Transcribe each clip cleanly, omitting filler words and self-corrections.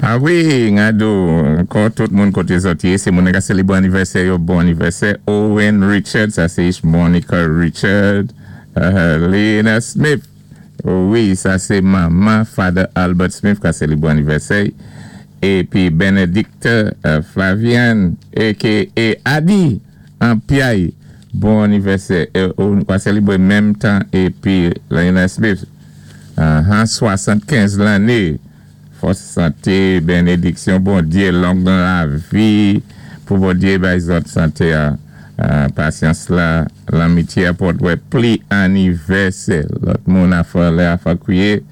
A wi, nga di'w, ankò tout moun koté zòt yé, sé moun ka sélébwé anivèsè yo, bon anivèsè. Owen Richard, sa sé Monica Richard, Lena Smith, wi, sa sé manman Father Albert Smith ka sélébwé anivèsè. Épi Benedicte Flavian, a.k.a. Adi, an Piay, bon anivèsè. Ou ka sélébwé menm tan épi Lena Smith, 75 lanné. Fòs, santé, bénédiksyon, Bondyé, long lavi, pou Bondyé bay zòt santé a, pasyans la, lanmityé pou wè pli anivèsè. Lòt moun a fè lè a fè kwiyé,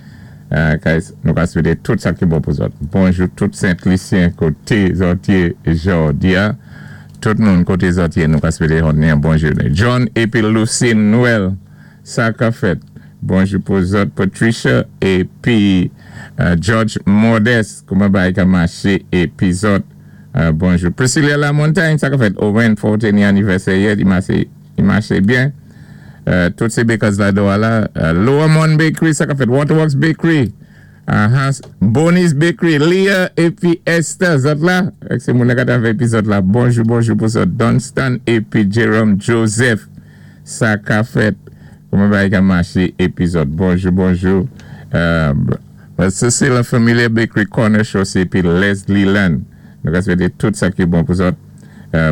nou ka swété tout sa ki bon pou zòt. Bonjou tout Sent-Lisyen koté zòt yé jòdi a. Tout moun koté zòt yé nou ka swété yon bon jounen. John épi Lucine Noël, sa ka fèt. Bonjou pou zòt Patricia épi George Modeste, kouman bagay ka maché épi zòt. Bonjou. Priscilla Lamontagne, sa ka fèt. Owen Forte ni anivèsè yè, i maché byen. Tout sé bakers la do la. Lower Mon Bakery, sa ka fèt. Waterworks Bakery. Bonnie's Bakery, Leah épi Esther, zòt la. Sé moun ka avè épi zòt la. Bonjou, bonjou pou zòt. Dunstan épi Jerome Joseph. Sa ka fèt. Kouman bagay ka maché épi zòt. Bonjou, bonjou. Cecile Familia Bakery Corner Chaussée épi Leslie Land. Nou ka swété tout sa ki bon pou zòt.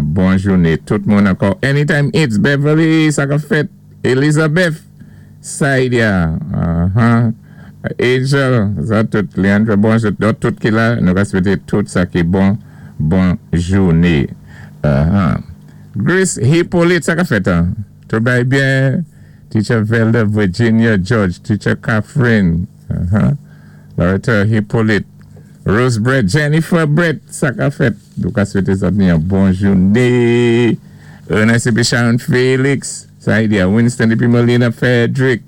Bon jouné. Tout moun ankò. Anytime It's Beverly, sa ka fèt. Elizabeth Saidia. Angel, zòt tout. Leandra, bonjou. Tout ki la. Nou ka swété tout sa ki bon. Bon jouné. Grace Hippolyte, sa ka fèt, an? Tout bagay byen. Teacher Velda Virginia George, Teacher Catherine, Loretta Hippolyte, Rose Brett, Jennifer Brett, sa ka fèt. Nou ka swété zòt ni yon bon jouné. Ernest épi Sharon Felix, Saidia Winston épi Melina Frederick.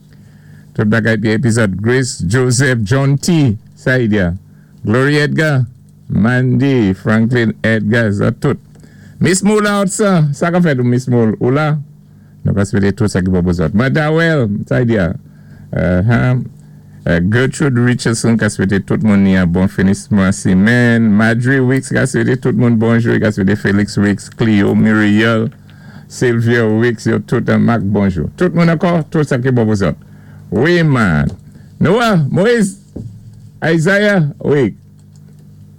Tout bagay byen épi zòt Grace Joseph John T, Saidia. Glory Edgar, Mandy, Franklin Edgar, zòt tout. Miss Moula sa, sa ka fèt ou Miss Moule, ou la? Nou ka swété tout sa ki bon pou zòt. Madawel, Saidia. Gertrude Richardson ka swété tout moun ni yon bon finisman simenn. Madry Wicks ka swété tout moun bonjou. Ka swété Felix Wicks, Cleo, Muriel, Sylvia Wicks, yo tout an mak bonjou. Tout moun ankò, tout sa ki bon pou zòt. Wi man. Noah, Moïse, Isaiah, wi.